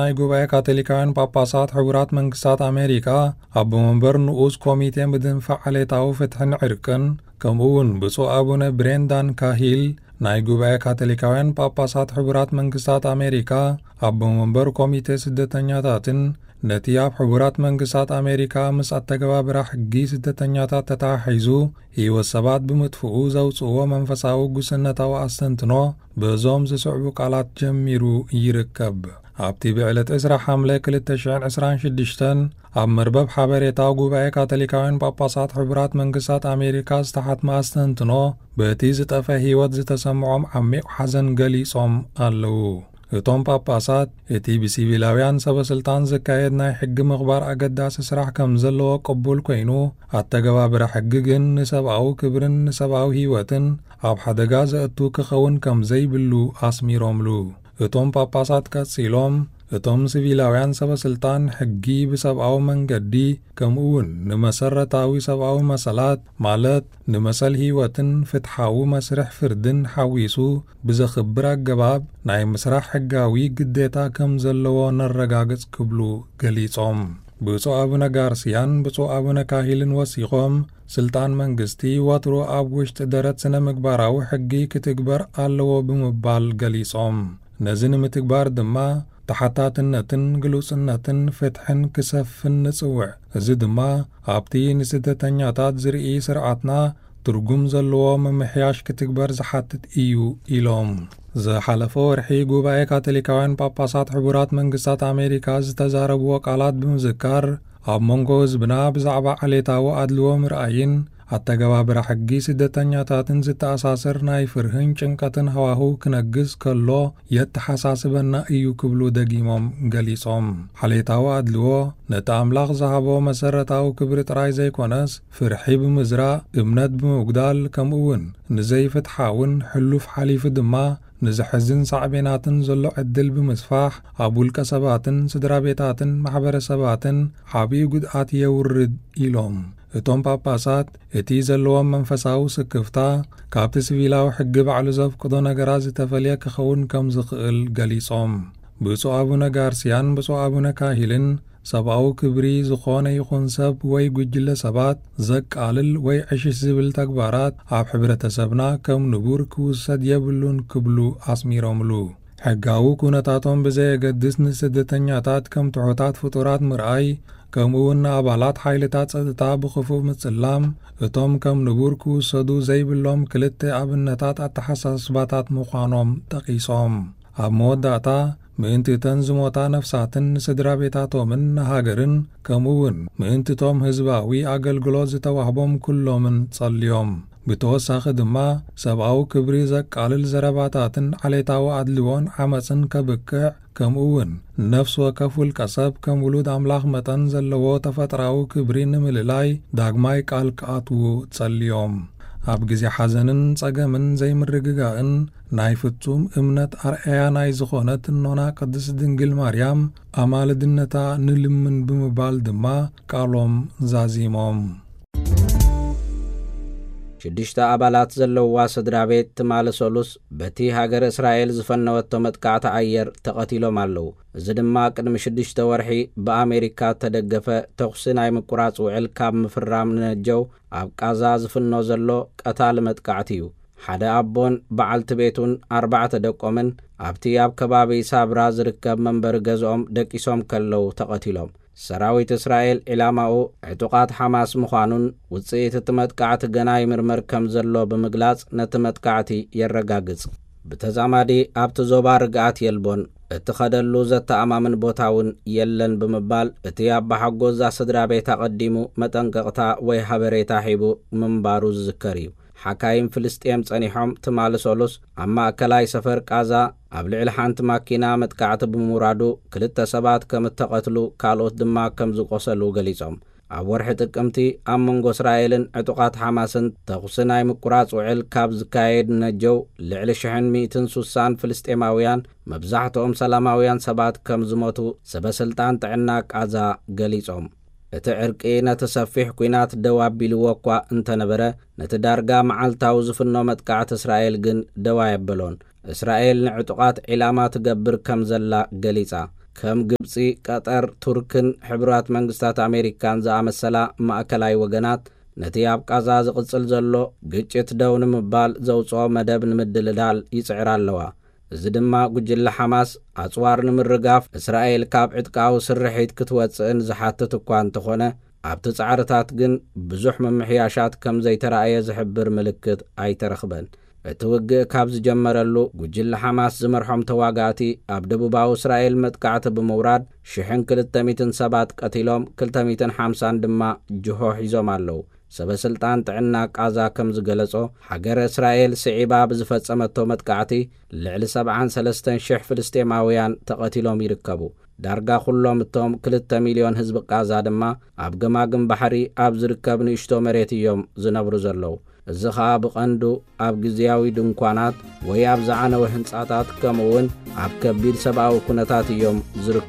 ናይ ጉባኤ ካቶሊካውያን ጳጳሳት ሕቡራት መንግስታት ኣሜሪካ ኣቦ መንበር ንኡስ ኮሚቴ ምድንፋዕ ዓሌታዊ ፍትሕን ዕርቅን፣ ከምኡ እውን ብፁዕ ኣቡነ ብሬንዳን ካሂል፣ ናይ ጉባኤ ካቶሊካውያን ጳጳሳት ሕቡራት መንግስታት ኣሜሪካ ኣቦ መንበር ኮሚቴ ስደተኛታትን፣ ነቲ ኣብ ሕቡራት መንግስታት ኣሜሪካ ምስ ኣተገባብራ ሕጊ ስደተኛታት ተተሓሒዙ ህይወት ሰባት ብምጥፍኡ ዘውፅእዎ መንፈሳዊ ጉስነታዊ ኣስተንትኖ በዞም ዝስዕቡ ቃላት ጀሚሩ ይርከብ። ኣብቲ ብዕለት ዕስራ ሓምለ ክልተ ሽሕን ዕስራን ሽዱሽተን ኣብ መርበብ ሓበሬታ ጉባኤ ካቶሊካውያን ጳጳሳት ሕቡራት መንግስታት ኣሜሪካ ዝተሓትመ ኣስተንትኖ፣ በቲ ዝጠፈ ህይወት ዝተሰምዖም ዓሚቕ ሓዘን ገሊጾም ኣለዉ። እቶም ጳጳሳት፣ እቲ ብሲቪላውያን ሰበ ስልጣን ዝካየድ ናይ ሕጊ ምኽባር ኣገዳሲ ስራሕ ከም ዘለዎ ቅቡል ኮይኑ፣ ኣተገባብራ ሕጊ ግን ንሰብኣዊ ክብርን ንሰብኣዊ ህይወትን ኣብ ሓደጋ ዘእቱ ክኸውን ከም ዘይብሉ ኣስሚሮምሉ። እቶም ጳጳሳት ቀጺሎም፣ እቶም ሲቪላውያን ሰበ ስልጣን ሕጊ ብሰብኣዊ መንገዲ፣ ከምኡ እውን ንመሰረታዊ ሰብኣዊ መሰላት፣ ማለት ንመሰል ህይወትን ፍትሓዊ መስርሕ ፍርድን ሓዊሱ ብዘኽብር ኣገባብ ናይ ምስራሕ ሕጋዊ ግዴታ ከም ዘለዎ ነረጋግጽ ክብሉ ገሊጾም። ብፁዕ ኣቡነ ጋርሲያን ብፁዕ ኣቡነ ካሂልን ወሲኾም፣ ስልጣን መንግስቲ ወትሩ ኣብ ውሽጢ ደረት ስነ ምግባራዊ ሕጊ ክትግበር ኣለዎ ብምባል ገሊጾም። ነዚ ንምትግባር ድማ ተሓታትነትን ግሉጽነትን ፍትሕን ክሰፍን ንጽውዕ። እዚ ድማ ኣብቲ ንስደተኛታት ዝርኢ ስርዓትና ትርጉም ዘለዎ ምምሕያሽ ክትግበር ዝሓትት እዩ ኢሎም። ዝሓለፈ ወርሒ ጉባኤ ካቶሊካውያን ጳጳሳት ሕቡራት መንግስታት ኣሜሪካ ዝተዛረብዎ ቃላት ብምዝካር፣ ኣብ መንጎ ህዝብና ብዛዕባ ዓሌታዊ ኣድልዎ ምርኣይን ኣተገባብራ ሕጊ ስደተኛታትን ዝተኣሳሰር ናይ ፍርህን ጭንቀትን ሃዋህው ክነግስ ከሎ የተሓሳስበና እዩ ክብሉ ደጊሞም ገሊጾም። ዓሌታዊ ኣድልዎ ነቲ ኣምላኽ ዝሃቦ መሰረታዊ ክብሪ ጥራይ ዘይኮነስ፣ ፍርሒ ብምዝራእ፣ እምነት ብምጉዳል፣ ከምኡ እውን ንዘይፍትሓውን ሕሉፍ ሓሊፉ ድማ ንዘሕዝን ሳዕቤናትን ዘሎ ዕድል ብምስፋሕ፣ ኣብ ውልቀ ሰባትን ስድራ ቤታትን ማሕበረሰባትን ዓብዪ ጉድኣት የውርድ ኢሎም። እቶም ጳጳሳት፣ እቲ ዘለዎም መንፈሳዊ ስክፍታ ካብቲ ሲቪላዊ ሕጊ ባዕሉ ዘፍቅዶ ነገራት ዝተፈልየ ክኸውን ከም ዝኽእል ገሊጾም። ብፁዕ ኣቡነ ጋርሲያን ብፁዕ ኣቡነ ካሂልን፣ ሰብኣዊ ክብሪ ዝኾነ ይኹን ሰብ ወይ ጉጅለ ሰባት ዘቃልል ወይ ዕሽሽ ዝብል ተግባራት ኣብ ሕብረተሰብና ከም ንቡር ክውሰድ የብሉን ክብሉ ኣስሚሮምሉ። ሕጋዊ ኩነታቶም ብዘየገድስ ንስደተኛታት ከም ትሑታት ፍጡራት ምርኣይ፣ ከምኡ እውን ንኣባላት ሓይልታት ጸጥታ ብኽፉእ ምጽላም፣ እቶም ከም ንቡር ክውሰዱ ዘይብሎም ክልተ ኣብነታት ኣተሓሳስባታት ምዃኖም ጠቒሶም። ኣብ መወዳእታ፣ ምእንቲ እተን ዝሞታ ነፍሳትን ንስድራ ቤታቶምን ንሃገርን፣ ከምኡ እውን ምእንቲ እቶም ህዝባዊ ኣገልግሎት ዝተዋህቦም ኩሎምን ጸልዮም። ብተወሳኺ ድማ፣ ሰብኣዊ ክብሪ ዘቃልል ዘረባታትን ዓሌታዊ ኣድልዎን ዓመጽን ከብቅዕ፣ ከምኡ እውን ነፍሲ ወከፍ ውልቀ ሰብ ከም ውሉድ ኣምላኽ መጠን ዘለዎ ተፈጥራዊ ክብሪ ንምልላይ ዳግማይ ቃል ክኣትዉ ጸልዮም። ኣብ ግዜ ሓዘንን ጸገምን ዘይምርግጋእን ናይ ፍጹም እምነት ኣርኣያ ናይ ዝኾነት እኖና ቅድስት ድንግል ማርያም ኣማልድነታ ንልምን ብምባል ድማ ቃሎም ዛዚሞም። ሽዱሽተ ኣባላት ዘለዋ ስድራ ቤት ትማሊ ሰሉስ በቲ ሃገር እስራኤል ዝፈነወቶ መጥቃዕቲ ኣየር ተቐቲሎም ኣለዉ። እዚ ድማ ቅድሚ ሽዱሽተ ወርሒ ብኣሜሪካ እተደገፈ ተኹሲ ናይ ምቁራጽ ውዕል ካብ ምፍራም ንነጀው ኣብ ቃዛ ዝፍኖ ዘሎ ቀታሊ መጥቃዕቲ እዩ። ሓደ ኣቦን በዓልቲ ቤቱን ኣርባዕተ ደቆምን ኣብቲ ኣብ ከባቢ ሳብራ ዝርከብ መንበሪ ገዝኦም ደቂሶም ከለዉ ተቐቲሎም። ሰራዊት እስራኤል ዒላማኡ ዕጡቓት ሓማስ ምዃኑን ውጽኢት እቲ መጥቃዕቲ ገና ይምርመር ከም ዘሎ ብምግላጽ ነቲ መጥቃዕቲ የረጋግጽ። ብተዛማዲ ኣብቲ ዞባ ርግኣት የልቦን፣ እትኸደሉ ዘተኣማምን ቦታ እውን የለን ብምባል እቲ ኣባሓጎዛ ስድራ ቤት ኣቐዲሙ መጠንቀቕታ ወይ ሓበሬታ ሂቡ ምንባሩ ዝዝከር እዩ። ሓካይም ፍልስጤም ጸኒሖም ትማሊ ሰሉስ ኣብ ማእከላይ ሰፈር ቃዛ ኣብ ልዕሊ ሓንቲ ማኪና መጥቃዕቲ ብምውራዱ ክልተ ሰባት ከም እተቐትሉ ካልኦት ድማ ከም ዝቆሰሉ ገሊጾም። ኣብ ወርሒ ጥቅምቲ ኣብ መንጎ እስራኤልን ዕጡቓት ሓማስን ተኹሲ ናይ ምቁራጽ ውዕል ካብ ዝካየድ ነጀው ልዕሊ ሽሕን ሚእትን ሱሳን ፍልስጤማውያን መብዛሕትኦም ሰላማውያን ሰባት ከም ዝሞቱ ሰበ ስልጣን ጥዕና ቃዛ ገሊጾም። እቲ ዕርቂ ነቲ ሰፊሕ ኲናት ደው ኣቢልዎ እኳ እንተነበረ፣ ነቲ ዳርጋ መዓልታዊ ዝፍኖ መጥቃዕቲ እስራኤል ግን ደው ኣየበሎን። እስራኤል ንዕጡቓት ዒላማ ትገብር ከም ዘላ ገሊጻ። ከም ግብጺ፣ ቀጠር፣ ቱርክን ሕቡራት መንግስታት ኣሜሪካን ዝኣመሰላ ማእከላይ ወገናት፣ ነቲ ኣብ ቃዛ ዝቕጽል ዘሎ ግጭት ደው ንምባል ዘውጽኦ መደብ ንምድልዳል ይጽዕራ ኣለዋ። እዚ ድማ ጉጅለ ሓማስ ኣጽዋር ንምርጋፍ እስራኤል ካብ ዕጥቃዊ ስርሒት ክትወጽእን ዝሓትት እኳ እንተኾነ፣ ኣብቲ ጻዕርታት ግን ብዙሕ ምምሕያሻት ከም ዘይተራእየ ዝሕብር ምልክት ኣይተረኽበን። እቲ ውግእ ካብ ዝጀመረሉ፣ ጉጅለ ሓማስ ዝመርሖም ተዋጋእቲ ኣብ ደቡባዊ እስራኤል መጥቃዕቲ ብምውራድ ሽሕን ክልተ ሚእትን ሰባት ቀቲሎም፣ ክልተ ሚእትን ሓምሳን ድማ ጅሆ ሒዞም ኣለዉ። ሰበ ስልጣን ጥዕና ቃዛ ከም ዝገለጾ፣ ሃገረ እስራኤል ስዒባ ብዝፈጸመቶ መጥቃዕቲ ልዕሊ ሰብዓን ሰለስተን ሽሕ ፍልስጤማውያን ተቐቲሎም ይርከቡ። ዳርጋ ኩሎም እቶም ክልተ ሚልዮን ህዝቢ ቃዛ ድማ ኣብ ገማግም ባሕሪ ኣብ ዝርከብ ንእሽቶ መሬት እዮም ዝነብሩ ዘለዉ። እዚ ኸኣ ብቐንዱ ኣብ ግዝያዊ ድንኳናት ወይ ኣብ ዝዓነወ ህንጻታት፣ ከምኡ እውን ኣብ ከቢድ ሰብኣዊ ኩነታት እዮም ዝርከቡ።